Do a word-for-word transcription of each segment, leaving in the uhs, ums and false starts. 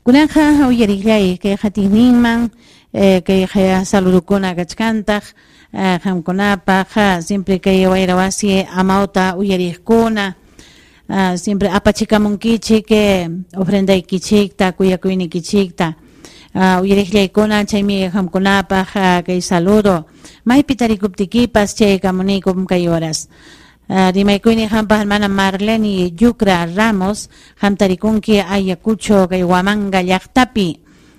Kunanqa uyariqllay kay qatiqninman eh, kay saludukuna kachkantaq eh, qamkunapaq siempre kay wayra wasi amawta uyariqkuna uh, siempre apachikamunkichik eh, ofrendaykichikta kuyakuynikichikta uh, uyariqllaykuna chaymi qamkunapaq uh, kay saludo maypi tarikuptikipas chaykamunikum kay horas. Uh, rimaykuyni hampaq hermana Marlene Yucra Ramos hamtarikunki Ayacucho kay Huamanga llaqtapi.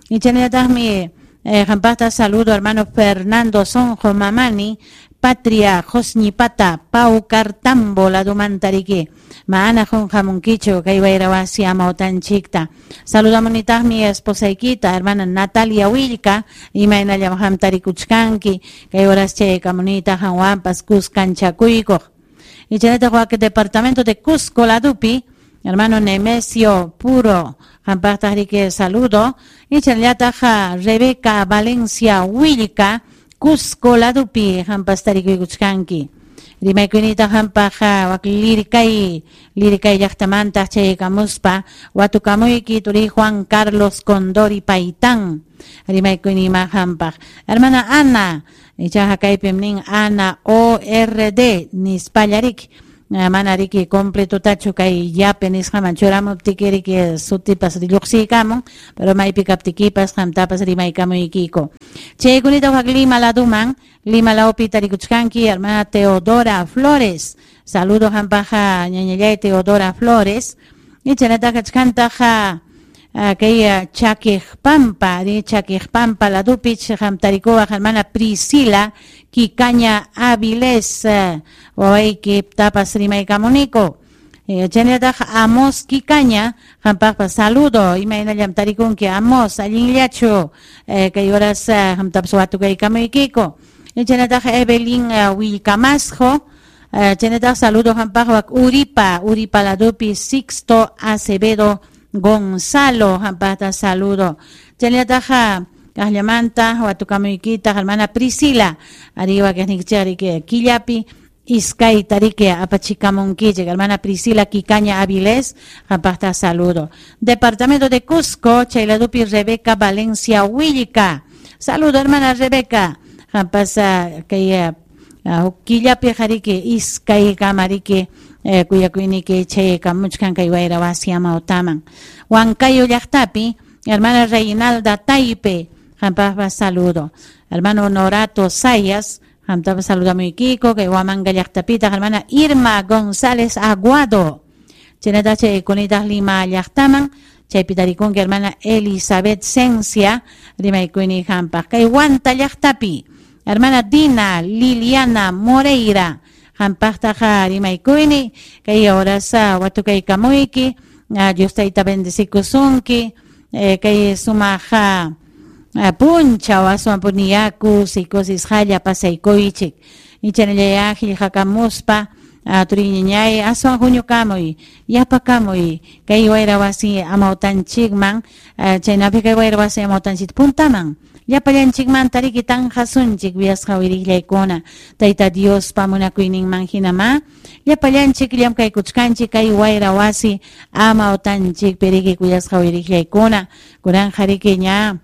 Ichanallataqmi eh, hampaqta saludo hermano Fernando Sonjo Mamani Patria Josñipata Paucartambo ladumantariki maana junjamunkichu kay wayrawasi amawtanchikta. Saludamunitaqmi esposaykita hermana Natalia Willka imaynallam hamtarikuchkanki kay horas chaykamunita hanwanpas kuskanchakuykuq. Ichanataq wak departamento de Cusco ladupi hermano Nemesio Puro hampaqtaq riki saludo. Ichanallataq Rebeca Valencia Willka Cusco ladupi hampas tarikuykuchkanki. Rimaykunita hampaq wak lirikay lirikay llaqtamanta chaykamuspa watukamuyki turi Juan Carlos Condori Paitán rimaykunima hampaq. Hermana Ana ichaqa kaypim nin Ana O R D nispallarik mana riki completotachu kay yape nisqaman churamuptiki riki sutipas lluqsiykamun pero maypi kaptikipas qamtapas rimaykamuykiko. Chaykunita wak Lima laduman Lima lawpi tarikuchkanki hermana Teodora Flores. Saludo hampaja ñañallay Teodora Flores. Ichanata kachkantaja kay Chaquiqpampa ri Chaquiqpampa ladupi hamtarikuwaq hermana Priscila Kikaña Avilés wawayki tapas rimaykamuniko. Chaynallataq Amos Kikaña hampaqpas saludo imaynallam tarikunki Amos allinllachu kay horas hamtapas watukaykamuykiko. Chaynallataq Evelyn Willcamasjo chaynallataq saludo hampaq wak Uripa Uripa ladupi Sixto Acevedo Gonzalo hampaqta saludo. Chaynallataq kaqllamanta watukamuykitaq hermana Priscila ariwa kaqnikichik killapi iskay tariki apachikamunkichik hermana Priscila Kikaña Avilés hampaqta saludo. Departamento de Cusco chayladupi Rebeca Valencia Willka. Saludo hermana Rebeca hampasa kay killapi hariki iskay kamariki eh, kuyakuyniki chaykamuchkan kay wayra wasi amawtaman. Huancayo llaqtapi hermana Reinalda Taipe hampaqpa saludo. Hermano Honorato Sayas hamtapa saludamuykiko kay Huamanga llaqtapitaq hermana Irma González Aguado. Chaynata chaykunitaq Lima llaqtaman chaypi tarikunki hermana Elizabeth Cencia rimaykuyni hampaq. Kay Huanta llaqtapi hermana Dina Liliana Moreira hampaqtaqa rimaykuyni kay horas watukaykamuyki Dios tayta bendecikusunki kay sumaqa punchaw aswan puniyaku psicosis halla pasaykuychik. Ichanallaya qillqakamuspa turiñañay aswan huñukamuy yapakamuy kay wayra wasi amawtanchikman chaynapi kay wayra wasi amawtanchik puntaman llapallanchikmanta riki tanqasunchik wiasqa wiriqllaykuna Tayta Diospa munakuyninman hinama llapallanchik llamkaykuchkanchik kay wayra wasi amawtanchikpi riki kuyasqa wiriqllaykuna kunanqa riki ña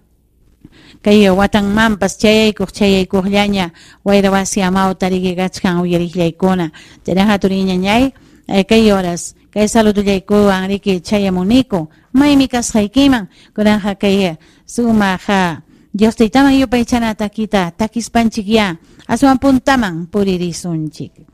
kay watanmanpas chayaykuq chayaykuqllaña wayra wasi amawta riki kachkan uyariqllaykuna chaynaqa turiñañay kay horas kay saludullaykuwan riki chayamuniku maymi kasqaykiman kunanqa kay sumaqa Dios taytaman yupaychana takita takispanchik ya aswan puntaman puririsunchik.